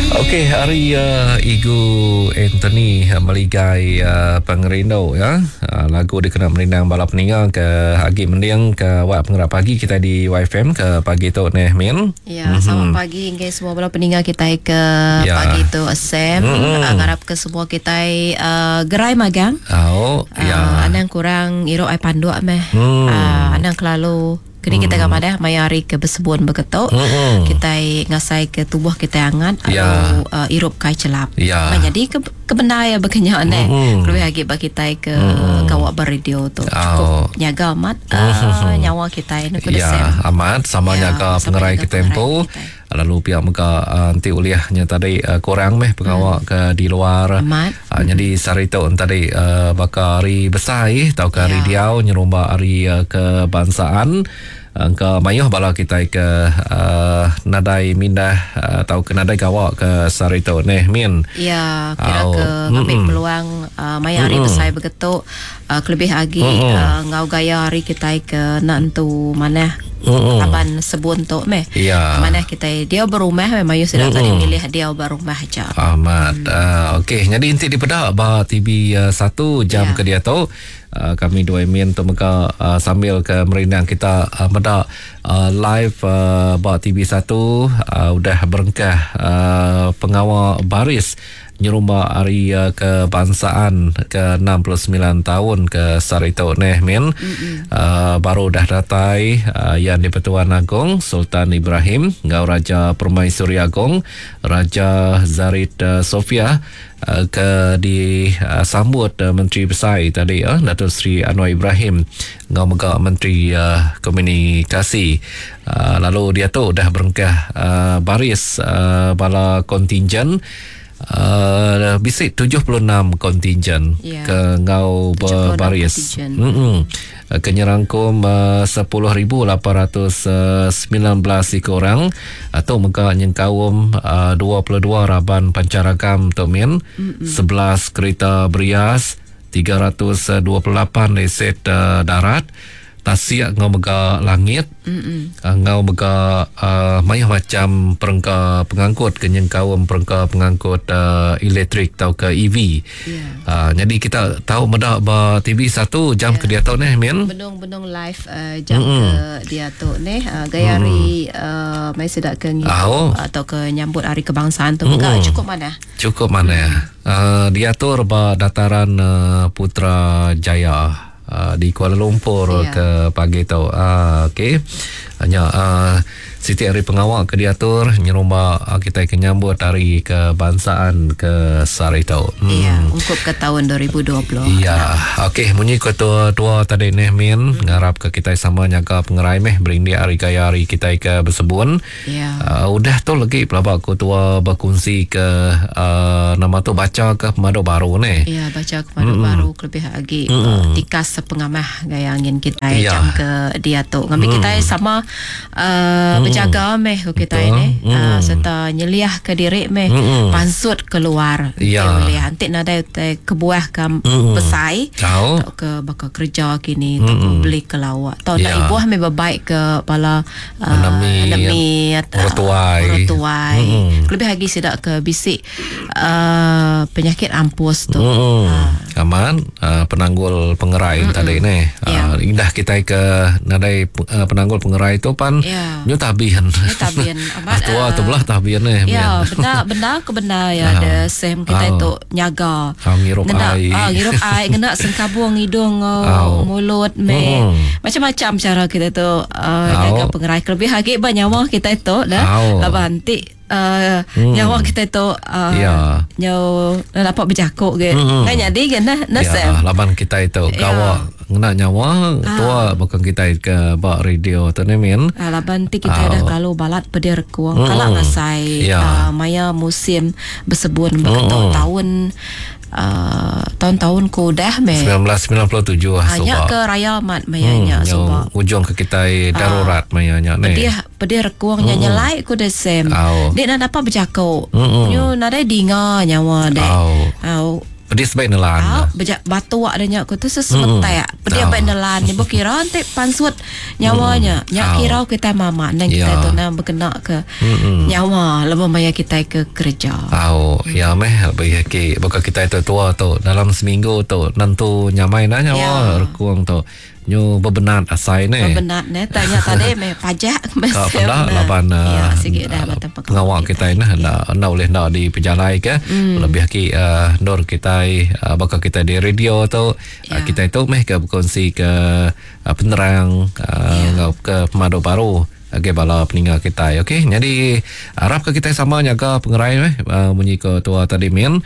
Okey, hari uh, Igu Anthony uh, meligai uh, pengerindu ya. Uh, lagu dikena merindang bala peninga ke agi mending ke awak pengerak pagi kita di YFM ke pagi tu neh Min. Ya, mm-hmm. selamat pagi enggai semua bala peninga kita ke Ya. pagi tu Sam. Mm-mm. Uh, ngarap ke semua kita uh, gerai magang. Oh, Uh, ya. anang kurang iruk ai panduk meh. Uh, anang kelalu Kini kita mm. madah maya hari ke bersebun beketuk Mm-mm. kita ngasai ke tubuh kita hangat Ya. atau uh, irup kai celap. Ya. Nah, jadi ke kebenda ya bekenyak ne. Mm-mm. Lebih lagi bagi kita ke kawak beradio tu. Cukup Oh. nyaga amat uh, nyawa kita ini kuda Sam. Ya, amat sama Ya, nyaga sama pengerai nyaga ke tempo. pengerai kita. Lalu pihak mega uh, nanti ulihnya tadi uh, kurang meh pengawa ke di luar. Amat. Uh, Jadi sehari tu tadi uh, baka hari besar tau ke hari Ya. diau nyerumba hari uh, kebangsaan uh, ke mayuh bala kita ke uh, nadai mindah uh, tau ke nadai gawak ke sehari tu neh min. Ya, kira Au. ke ngambil Mm-mm. peluang uh, maya hari besai begetuk uh, kelebih lagi uh, ngau gaya hari kita ke nak entu mana Mm-mm. laban sebun tu meh. Ya. Mana kita dia berumah meh mayu sudah tadi milih dia berumah aja. Ahmad. Hmm. Uh, okey, jadi inti di pedak ba TV uh, 1 jam Ya. ke dia tu. Uh, kami dua min tu mega uh, sambil ke merindang kita uh, medak uh, live uh, ba TV 1 uh, udah berengkah uh, pengawal baris nyerumba hari uh, kebangsaan ke 69 tahun ke Sarito neh min uh, baru dah datai uh, yang di-Pertuan Agong Sultan Ibrahim ngau Raja Permaisuri Agong Raja Zarid uh, Sofia uh, ke disambut uh, Menteri Besar tadi uh, Datuk Seri Anwar Ibrahim ngau mega Menteri uh, Komunikasi uh, lalu dia tu dah berengkah uh, baris uh, bala kontingen Uh, bisik 76 kontingen Ya. ke ngau 76 berbaris. kontingen. Mm-mm. Uh, Kenyerangkum 10,819 ekor orang atau mega nyengkaum uh, 22 raban pancaragam Tok Min, 11 kereta berias, 328 aset uh, darat, tasik ngau mega langit, uh, ngau mega uh, mayuh macam perengka pengangkut kenyengkaum perengka pengangkut uh, elektrik atau ke EV. Ya. Uh, jadi kita tahu medak ba TV 1 jam yeah. ke dia tahu ni Min. Benung-benung live uh, jam mm ke dia tu neh uh, gaya hari uh, mai sedak ke ngidup Au. atau ke nyambut hari kebangsaan tu mega cukup mana? Cukup mana? Uh, diatur ba dataran uh, Putrajaya uh, di Kuala Lumpur Ya. ke pagi tu. Uh, okey. Hanya uh, Siti hari pengawal ke diatur nyerumba uh, kita ke nyambut hari kebangsaan ke sehari tu. Ya, ungkup ke tahun 2020. Ya, okey munyi ke tua tua tadi neh min ngarap ke kita sama nyaga pengerai meh berindik hari gaya hari kita ke bersebun. Ya. Uh, udah tu lagi pelabak ku tua berkongsi ke uh, nama tu baca ke pemandu baru ni. Ya, baca kepada mm baru kelebih lagi mm. tikas sepengamah gaya angin kita Ya. jam ke dia tu. Ngambil mm. kita sama uh, berjaga meh ku kita Betul. ini uh, serta nyeliah ke diri meh Mm-mm. pansut keluar. Ya. Boleh antik nadai utai kebuah ke besai. Tahu. Atau ke bakal kerja kini atau ke beli ke lawak. Atau nak Ya. ibuah meh berbaik ke bala uh, Enemi, enemi orang tuai. Orang tuai. Lebih lagi sedak ke bisik uh, penyakit ampus tu. Hmm. Aman uh, penanggul pengerai mm tadi ni. Ya. Uh, indah kita ke nadai uh, penanggul pengerai tu pan Ya. nyu tabian. Nyu tabian. Amat, Tua uh, tu belah tabian ni. Ya, Min. benda benda ke benda ya Ah. ada sem kita Ah. itu nyaga. Ah, ngirup Ngena, air. Ah, ngirup air, ngena sengkabung hidung, Ah. oh, mulut me. Mm. Macam-macam cara kita tu uh, Ah. nyaga pengerai. Lebih lagi ba nyawa kita itu dah. Ah. Laban anti uh, nyawa kita itu uh, Ya. nyau dapat berjakuk ke. Mm-mm. Kan jadi ke nah, nah sem. Ya, laban kita itu Ya. gawak ngena nyawa tua bukan kita ke bak radio tu ni min. Ah, laban ti kita Ah. dah kalau balat pedir rekuang Mm-mm. kalau ngasai Ya. uh, maya musim bersebun beketuk tahun uh, tahun-tahun ku dah me 1997 hanya subak. ke raya mat mayanya Hmm, subak ujung ke kita darurat mayanya ni. pedih pedih rekuang nya nyelai ku dah sem Au. dek nak dapat berjakuk Mm-mm. nyu nadai dinga nyawa dek Au. Au. Pedis bai nelan. Au, beja batuk dah nya ku tu sesemetak. Pedis bai nelan ni kira enti pansut nyawa nya. Nya kira kitai mama nang kitai tu nang bekena ke nyawa lebuh maya kitai ke kereja. Au, ya meh lebih agi baka kitai tu tua tu dalam seminggu tu nentu nyamai nah nyawa rekung tu. Nyu bebenat asai neh. Bebenat neh tanya tadi meh pajak meh. Ka peda laban ya, sigi dah pengawa kitai neh enda enda ulih enda dipejalai ke. Mm. Lebih agi uh, endur kitai uh, baka kitai di radio tu ya. uh, kitai tu meh ke berkongsi ke uh, penerang uh, ya. enggau ke pemadu baru Agi bala peninga kitai. Okey, nyadi arap ke kitai sama nyaga pengerai meh uh, munyi ke tua tadi min.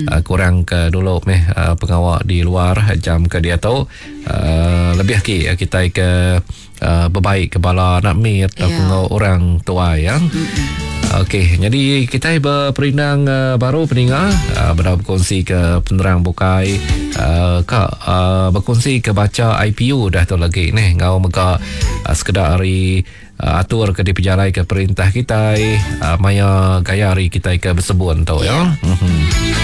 Uh, kurang ke dulu meh uh, pengawa di luar jam ke diatu. Uh, lebih agi kitai ke uh, bebaik ke bala anak mit yeah. atau orang tuai ya. Okey, nyadi kitai beperindang uh, baru peninga uh, bedau berkongsi ke penerang bukai uh, ka uh, berkongsi ke baca IPU dah tu lagi neh ngau mega uh, sekeda ari uh, atur ke dipejalai ke perintah kitai uh, maya gaya hari kitai ke bersebun tu ya. Mm-hmm.